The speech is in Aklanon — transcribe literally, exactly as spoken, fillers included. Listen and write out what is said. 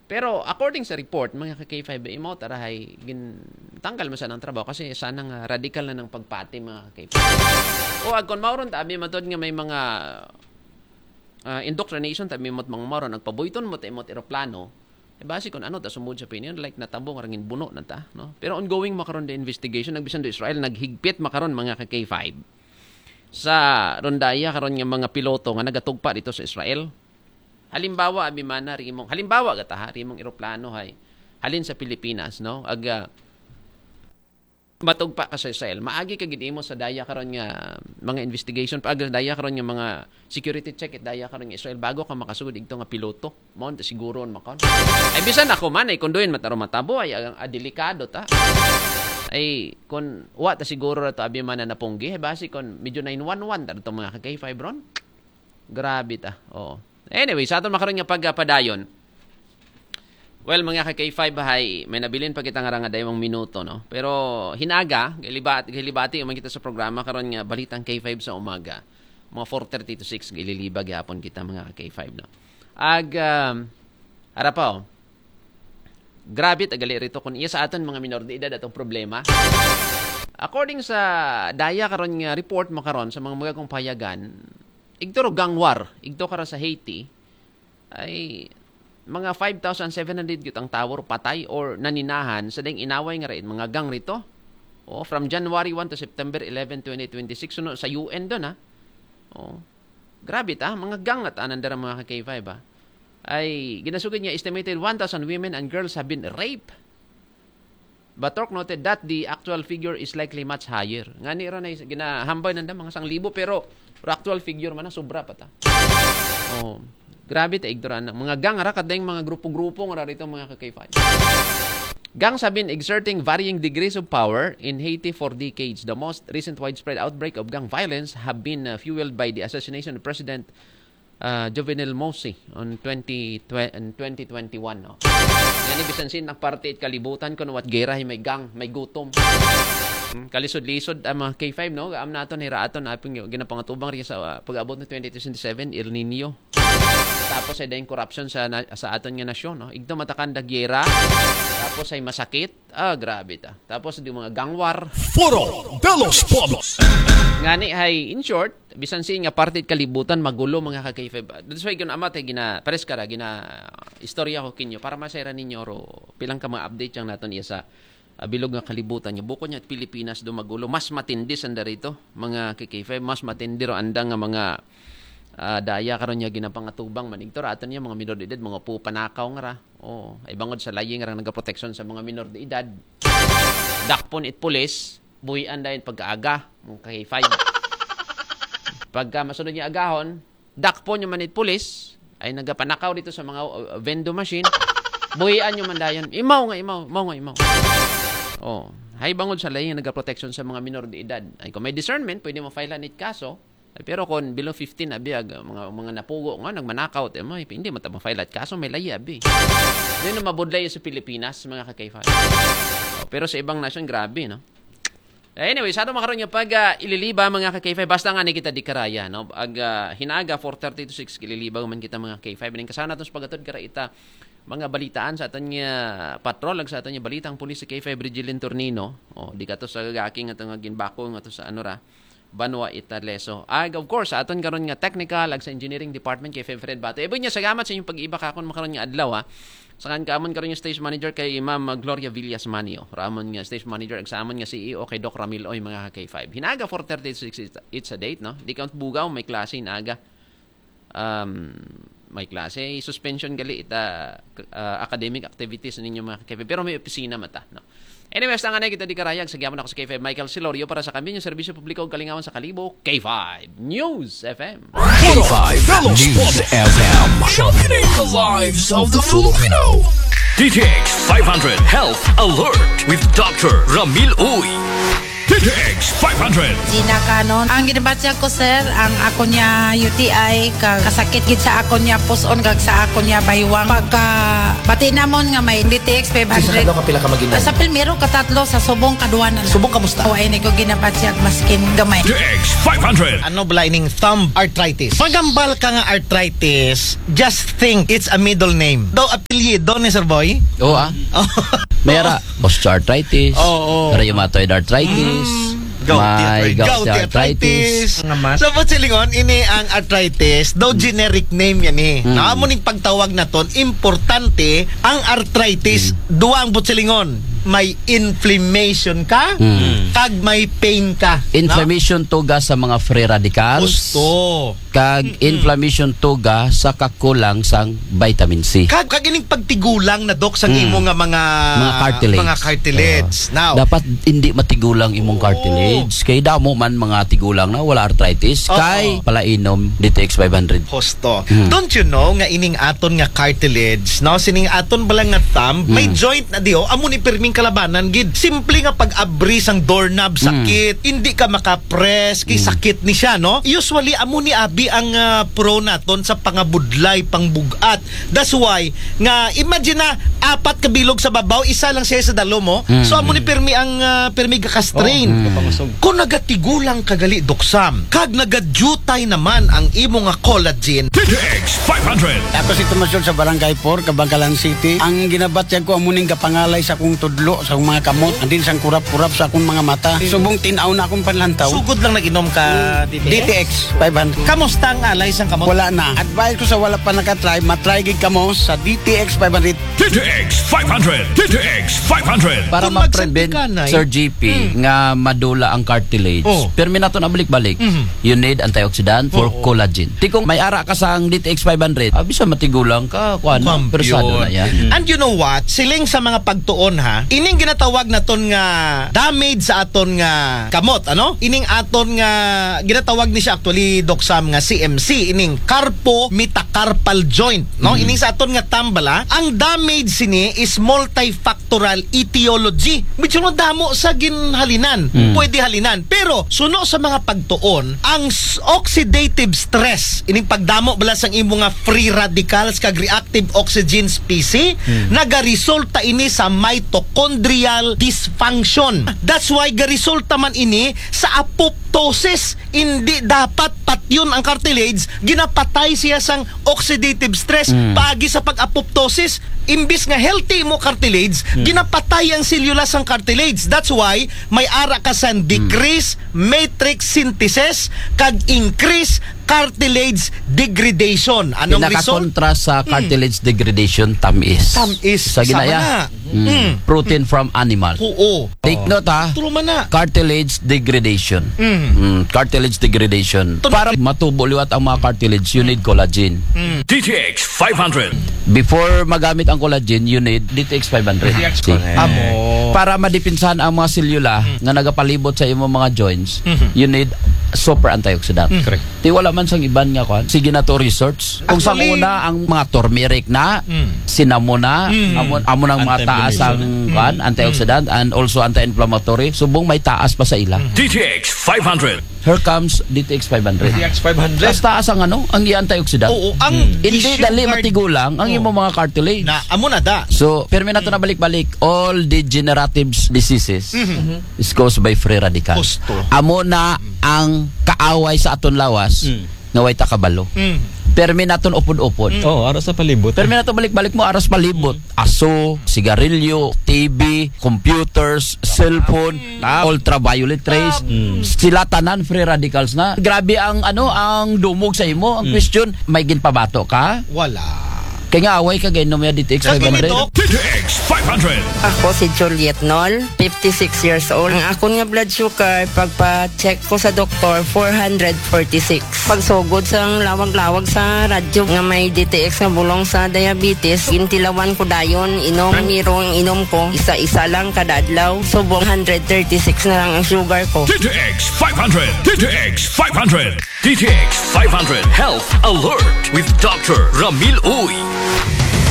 Pero according sa report, mga ka-K five, imo tarahay gin tanggal man sa ng trabaho kasi sana nga radical na ng pagpati, mga ka-K five. O agkon mauron ta abi matod nga may mga uh, indoctrination tabi mo't mga mauron nagpabuyton mo ta imo't eroplano. E basi kung ano ta sumud sa opinion, like natabo nga rangin buno na ta, no? Pero ongoing makaron the investigation, nagbisan do Israel naghigpit makaron, mga ka-K five, sa rondaya karon nga mga piloto nga nagatugpa dito sa Israel. Halimbawa, abi mana rimong, halimbawa gata ha, rimong eroplano hay halin sa Pilipinas, no? Aga matugpa ka sa Israel. Maagi ka gid imo sa daya karon nga mga investigation, pa aga daya karon nga mga security check it daya karon nga Israel bago ka makasugod igto nga piloto. Mao ta siguro makon. Ay bisan ako man ay kunduin mataro matabo ay ang ah, delikado ta. Ay kun wa ta siguro ra to abi mana napunggi, ay basi kun medyo nine one one ta to, mga ka-K five ron. Grabe ta. Oo. Anyway, sa aton makaron nga pagpadayon. Well, mga ka-K five hay, may nabilin pa kita nga ranga daymang minuto, no? Pero hinaga, gilibati, gilibati man kita sa programa karon nga balitang K five sa umaga. Mga four thirty to six gililiba gyapon kita, mga ka-K five, no? Ag um, ara pa, oh. Grabe ta gali rito kung iya sa aton mga minor de edad atong problema. According sa daya karon nga report mo karon sa mga mga kong payagan, igturo gang war, igto karon sa Haiti, ay mga five thousand seven hundred gyud ang tao patay or naninahan sa ding inaway nga raid mga gang rito. Oh, from January one to September eleven, twenty twenty-six, suno sa U N doon ha. Oh. Grabe ta, mga gang na tanan dara mga ka-K five ha. Ay ginasugid niya estimated one thousand women and girls have been raped. Batork noted that the actual figure is likely much higher. Ngani ra na is- ginahambay nanda mga sanglibo pero ra actual figure man na sobra pa ta. Oh, grabe ta igdoran na. Mga gang ra kadayng mga grupo-grupo nga ra rito mga ka-K five. Gangs have been exerting varying degrees of power in Haiti for decades. The most recent widespread outbreak of gang violence have been uh, fueled by the assassination of President uh, Jovenel Moïse on twenty, twe- in twenty twenty-one. No? Ngani bisan sin ang parte it kalibutan kun wat gera hi may gang, may gutom. Hmm, kalisod-lisod ang mga K five, no? Am naton hira aton aping ginapangatubang rin sa uh, pag-abot ng twenty twenty-seven, El Nino. Tapos ay dahil corruption sa na- sa aton nga nasyon, no? Igto matakan da gera, tapos ay masakit. Ah, grabe ta. Tapos di mga gang war. Foro de los Pueblos. Ngani hay in short, bisan si nga parte it kalibutan magulo mga ka-K five. That's why kun amat ay gina pares ka ra gina istorya ko kinyo para masayra ninyo ro pilang ka mga update yang naton iya sa ah, bilog nga kalibutan niya. Bukod niya Pilipinas do magulo, mas matindi sanda rito mga ka-K five, mas matindi ro anda nga mga ah, daya karon niya ginapangatubang man igto ra aton niya mga minor de edad, mga pupanakaw nga ra. Oh, ay bangod sa laying ra nagaproteksyon sa mga minor de edad. Dakpon it pulis, buhian dayon pagkaaga, mga ka-K five. Pagka masunod niya agahon, dakpon niya man it pulis, ay nagapanakaw dito sa mga uh, vendo machine, buhian niyo man dayon. Imaw nga imaw, imaw nga imaw. Oh, hay bangod sa laying nagaproteksyon sa mga minor de edad. Ay kung may discernment, pwede mo file it kaso. Ay, pero kung below fifteen abi ag mga mga napugo nga nagmanakaw te mo, hindi mo ta ma-file it kaso may layi abi. Yun ang mabudlay sa Pilipinas, mga ka-K five. Oh, pero sa ibang nasyon, grabe, no? Anyway, sa ato makaroon yung pag ah, ililiba, mga ka-K five, basta nga ni kita di karaya, no? Ag ah, hinaga four thirty to six ililiba man kita, mga K five. Ning kasana natin sa pagatod kara ita mga balitaan sa aton nga patrol ag sa aton nga balitang pulis sa K five Regilin Tornino. Oh, di ka to sa gagaki nga to nga ginbako nga to sa ano ra, banwa ita leso. Ag of course, sa aton karon nga technical ag sa engineering department kay Feb Fred Bato. Ibo niya salamat sa inyong pag-iba kakon makaron nga adlaw ha. Sa kan kamon karon nga stage manager kay Ma'am Gloria Villas Manio. Ramon nga stage manager ag sa amon nga C E O kay Doc Ramil Oy, mga ka-K five. Hinaga four thirty it's, it's a date, no? Di ka bugaw, may klase hinaga. Um, may klase, suspension gali ita ah, academic activities ninyo mga ka-K five. Pero may opisina mata, no? Anyways, tangan na kita di karayag sa gyapon ako sa K five Michael Silorio para sa Kambinyo Serbisyo Publiko ug Kalingawan sa Kalibo, K five News F M. K five News F M. Championing the lives of the Filipino. D T X five hundred Health Alert with Doctor Ramil Uy. X five hundred. Gina Canon. Ang ginabatyag ko, sir, ang ako niya U T I, kag kasakit gid sa ako niya puson, kag sa ako niya baywang. Pagka bati namon nga may D T X five hundred. Sa kadlaw ka pila ka mag-inom? Sa pilmero, katatlo, sa subong, kaduwa na. Subong, kamusta? O, ay, ni ko ginabatyag, maskin gamay. X five hundred. Ano bala ining thumb arthritis? Pagambal ka nga arthritis, just think it's a middle name. Daw apelyido ni Sir Boy? Oo, ah. May ara, osteoarthritis, Oo. rheumatoid arthritis, Mm. Gouty may arthritis. gouty Gouty arthritis. arthritis. Nga man. So, Butsi Lingon, ini ang arthritis, daw generic name yan eh. Mm. Na amo ning pagtawag naton, importante ang arthritis, Mm. duwa ang Butsi Lingon. May inflammation ka, Mm. kag may pain ka. No? Inflammation tuga sa mga free radicals. Gusto. Kag Mm. inflammation tuga sa kakulang sang vitamin C. Kag, kag ining pagtigulang na, Doc, sang Mm. imo nga mga, Mga cartilage. mga cartilage. Oo. Now, Dapat hindi matigulang imong Oo. cartilage. Kay damo man mga tigulang na wala arthritis. Oo. Kay palainom D T X five hundred. Husto. Mm. Don't you know nga ining aton nga cartilage, no? Sining aton bala nga thumb, may Mm. joint na diho, amo ni pirming kalabanan gid. Simple nga pag-abri sang doorknob, Mm. sakit. Hindi ka maka-press, kay Mm. sakit ni siya, no? Usually, amo ni abi ang, ah, pro naton sa pangabudlay, pangbug-at. That's why, nga, imagine na, apat ka bilog sa babaw, isa lang siya sa dalom, oh. Mm. So, amo ni pirmi ang, ah, pirmi gaka-strain. Oh. Mm. Kung nagatigulang ka gali, Doc Sam, kag nagadutay naman ang imo nga collagen. D T X five hundred. Ako si Tomas Yun sa Barangay four, Kabangkalan City. Ang ginabatyag ko, amo ning gapangalay sa akong tudlo, sa akong mga kamot, andin sang kurap-kurap sa akong mga mata. Subong tin-aw na akong panlantaw. Sugod lang nag-inom ka, D T X? D T X five hundred. Kamusta ang alay sang kamot? Wala na. Advice ko sa wala pa nakatry, matry gid kamo sa D T X five hundred. D T X five hundred. D T X five hundred. Para Kung ma-prevent, magsabik ka, Nay. Sir G P, Hmm. nga madula ang cartilage, Oh. pirmi naton abalik-balik. Mhm. You need antioxidant for Oo. collagen. Ti kung may ara ka sang D T X five hundred, ah, bisa matigulang ka, kuan, Kuan, persado yun. na yan. And you know what? Siling sa mga pagtuon, ha, ining ginatawag naton nga damage sa aton nga kamot, ano? Ining aton nga, ginatawag ni siya actually, Doc Sam, nga C M C, ining carpometacarpal joint, no? Mm. Ining sa aton nga thumb bala, ang damage sini is multifactorial etiology. Medyo madamo sa ginhalinan. Mm. Pwede halinan. Pero, suno sa mga pagtuon, ang s-, oxidative stress, ining pagdamo bala sang imo nga free radicals kag reactive oxygen species, Hmm. nagaresulta ini sa mitochondrial dysfunction. That's why garesulta man ini sa apoptosis. Hindi dapat patyon ang cartilage, ginapatay siya sang oxidative stress. Hmm. Paagi sa pag-apoptosis, imbis nga healthy mo cartilage, Hmm. ginapatay ang selula sang cartilage. That's why may ara ka sang Hmm. decrease matrix synthesis kag increase cartilage degradation. Anong result? Pinakakontra sa Hmm. cartilage degradation, tamis. Tamis. Sa Sama ginaya, na. Mm. Mm. Protein from animal. Oo. Take note, ha. True man na. Cartilage degradation. Mm. Mm, cartilage degradation. Tun- Para matubo liwat ang mga cartilage, you need collagen. Mm. D T X five hundred. Before magamit ang collagen, you need D T X five hundred. D T X five hundred. Amo. Para madipinsahan ang mga selula Mm. nga nagapalibot sa imong mga joints, Mhm. you need super antioxidant. Mm. Correct. Ti wala man sang iban nga kwan. Sige na to research. Kung sa Actually, una, ang mga turmeric na, Mm. cinnamon na, Mm. amo, amo nang mga taas ang Anti-inflammation. kwan, Mm. antioxidant, and also anti-inflammatory. Subong may taas pa sa ila. Mm. D T X five hundred. Here comes D T X five hundred. D T X five hundred. Taas, taas ang ano, ang antioxidant. Oo, ang Mm. Hindi issue dali card- matigulang ang Oo. imong mga cartilage. Na, amo na da. So, permi nato na balik-balik, all degenerative diseases Mhm. is caused by free radicals. Gusto. Amo na ang kaaway sa aton lawas Mm. nga way ta kabalo. Mm. Permi naton upod-upod. Mm. Oh, ara sa palibot. Permi naton balik-balik mo, aras palibot. Aso, sigarilyo, T V, computers, cellphone, Tab. ultraviolet rays. Tab. Mm. Sila tanan free radicals na. Grabe ang, ano, ang dumog sa imo. Ang Mm. question, may ginpabato ka? Wala. Kay nga away ka, gainom ya D T X Kag five hundred. Ginito? D T X five hundred. Ako si Juliet Nol, fifty-six years old. Ang akon nga blood sugar, pagpa-check ko sa doktor, four hundred forty-six. Pagsugod sa lawag-lawag sa radyo nga may D T X nga bulong sa diabetes, gintilawan ko dayon, inom. Primero ang inom ko, isa-isa lang kada adlaw. Subong hundred thirty-six na lang ang sugar ko. D T X five hundred. D T X five hundred. D T X five hundred Health Alert with Doctor Ramil Uy.